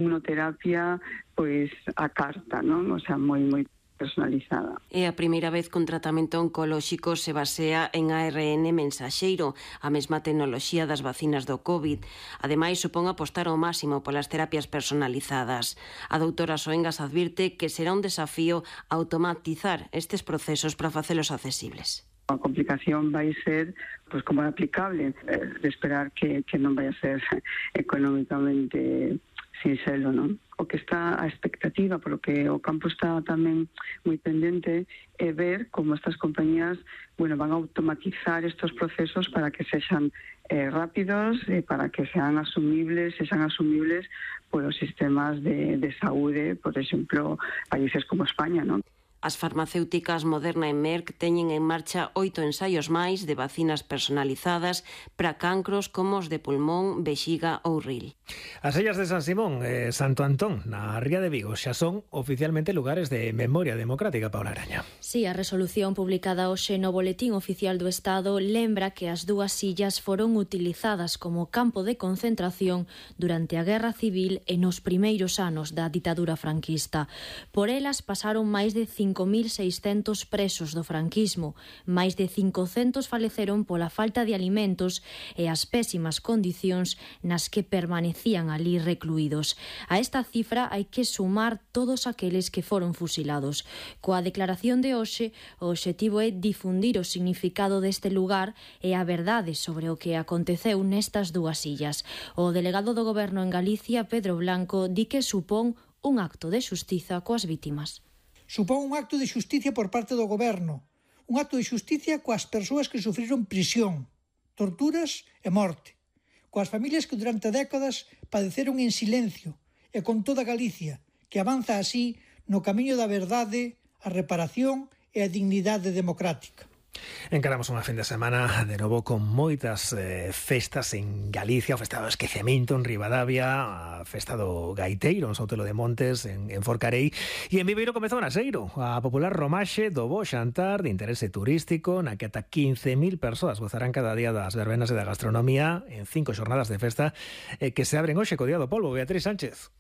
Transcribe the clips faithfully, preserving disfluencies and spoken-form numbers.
Inmunoterapia, pois a carta, non? O sea, moi, moi personalizada. É a primeira vez que un tratamento oncolóxico se basea en A R N mensaxeiro, a mesma tecnoloxía das vacinas do COVID. Ademais, supón apostar ao máximo polas terapias personalizadas. A doutora Soengas advirte que será un desafío automatizar estes procesos para facelos accesibles. A complicación vai ser, pois, como é aplicable, eh, de esperar que, que non vai a ser económicamente sinxelo, non? O que está a expectativa, polo que o campo está tamén moi pendente, é ver como estas compañías, bueno, van a automatizar estos procesos para que sexan eh, rápidos e para que sean asumibles, sexan asumibles polos sistemas de, de saúde, por exemplo, países como España, non? As farmacéuticas Moderna e Merck teñen en marcha oito ensaios máis de vacinas personalizadas para cancros como os de pulmón, vexiga ou ril. As illas de San Simón e Santo Antón, na Ría de Vigo, xa son oficialmente lugares de memoria democrática, Paula Araña. Sí, a resolución publicada hoxe no Boletín Oficial do Estado lembra que as dúas illas foron utilizadas como campo de concentración durante a Guerra Civil e nos primeiros anos da ditadura franquista. Por elas pasaron máis de cinco mil seiscentos presos do franquismo, máis de cincocentos faleceron pola falta de alimentos e as pésimas condicións nas que permanecían ali recluídos. A esta cifra hai que sumar todos aqueles que foron fusilados. Coa declaración de hoxe, o obxectivo é difundir o significado deste lugar e a verdade sobre o que aconteceu nestas dúas illas. O delegado do Goberno en Galicia, Pedro Blanco, di que supón un acto de xustiza coas vítimas. Supón un acto de xusticia por parte do Goberno, un acto de xusticia coas persoas que sufriron prisión, torturas e morte, coas familias que durante décadas padeceron en silencio e con toda Galicia, que avanza así no camiño da verdade, a reparación e a dignidade democrática. Encaramos unha fin de semana de novo con moitas eh, festas en Galicia, o festa do esquecemento en Ribadavia, a festa do Gaiteiro en Sotelo de Montes, en, en Forcarei, e en Viveiro comezou na Seiro, a popular romaxe do bo xantar de interese turístico, na que ata quince mil persoas gozarán cada día das verbenas e da gastronomía en cinco xornadas de festa eh, que se abren hoxe co Día do Polvo. Beatriz Sánchez.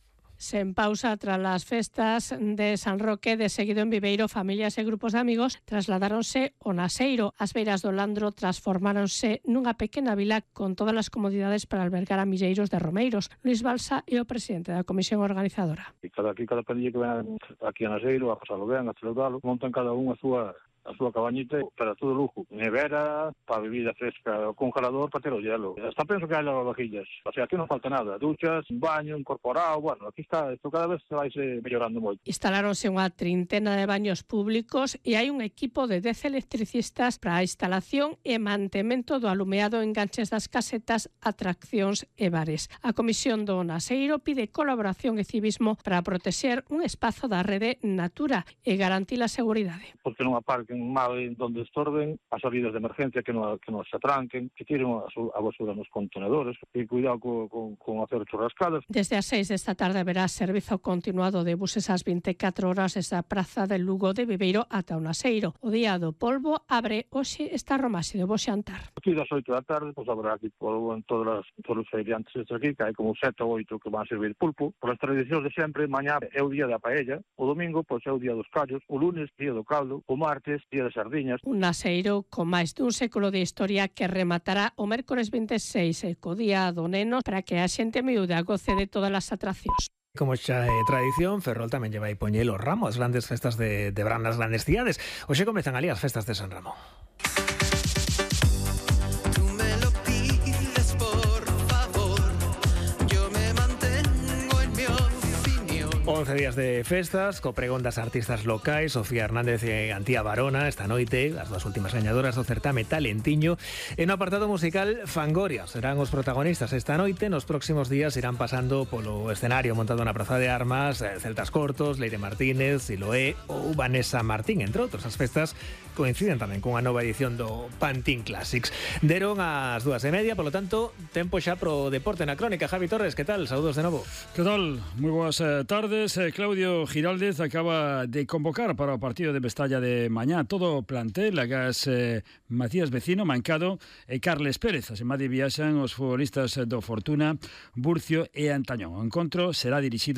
Sen pausa tras las festas de San Roque, de seguido en Viveiro, familias e grupos de amigos trasladáronse ao Naseiro. As beiras do Landro transformáronse nunha pequena vila con todas as comodidades para albergar a milleiros de romeiros. Luis Balsa é o presidente da comisión organizadora. E cada, aquí cada pandilla que ven aquí a Naseiro, a pasalo ben, a celebralo, montan cada un a súa a súa cabañita para todo lujo. Nevera, para bebida fresca, o congelador para ter o hielo. Hasta penso que hai lavavajillas. O sea, aquí non falta nada. Duchas, un baño incorporado, bueno, aquí está, isto cada vez se vai se mellorando moito. Instalaronse unha trintena de baños públicos e hai un equipo de dez electricistas para a instalación e mantemento do alumeado, enganches das casetas, atraccións e bares. A Comisión do Naseiro pide colaboración e civismo para protexer un espazo da rede Natura e garantir a seguridade. Porque non aparque mal donde estorben, as salidas de emergencia que non que non se atranquen, que tiren a, a basura nos contenedores e cuidado con, con, con hacer churrascadas. Desde as seis desta tarde haberá servizo continuado de buses ás veinticatro horas desde a Praza del Lugo de Viveiro ata o Naseiro. O Día do Polvo abre hoxe esta romaxe de bo xantar. Aquí das oito da tarde, pois habrá aquí polvo en todas as, todos os feriantes estes aquí, que hai como sete ou oito que van a servir pulpo. Por as tradicións de sempre, mañá é o día da paella, o domingo pois é o día dos callos, o lunes día do caldo, o martes día de sardiñas. Un Naseiro con máis dun século de historia que rematará o mércores veintiséis e co Día do Neno para que a xente miúda goce de todas as atraccións. Como xa é tradición, Ferrol tamén lle vai poñer o ramo as grandes festas de, de Bran, as grandes cidades. Hoxe comezan ali as festas de San Ramón. once días de festas, co pregón das artistas locais, Sofía Hernández e Antía Barona, esta noite, as dúas últimas gañadoras do certame Talentiño, e no apartado musical Fangoria serán os protagonistas esta noite. Nos próximos días irán pasando polo escenario montado na Praza de Armas Celtas Cortos, Leire Martínez, Siloé ou Vanessa Martín, entre outros. As festas coinciden tamén cunha nova edición do Pantín Classics. Deron as dúas e media, polo tanto, tempo xa pro deporte na crónica. Javi Torres, que tal? Saúdos de novo. Que tal? Moi boas eh, tardes. Eh, Claudio Giraldez acaba de convocar para o partido de Mestalla de mañá todo o plantel, agás eh, Macías Vecino, Mancado e Carles Pérez. As emade viaxan os futbolistas do Fortuna, Burcio e Antañón. O encontro será dirixido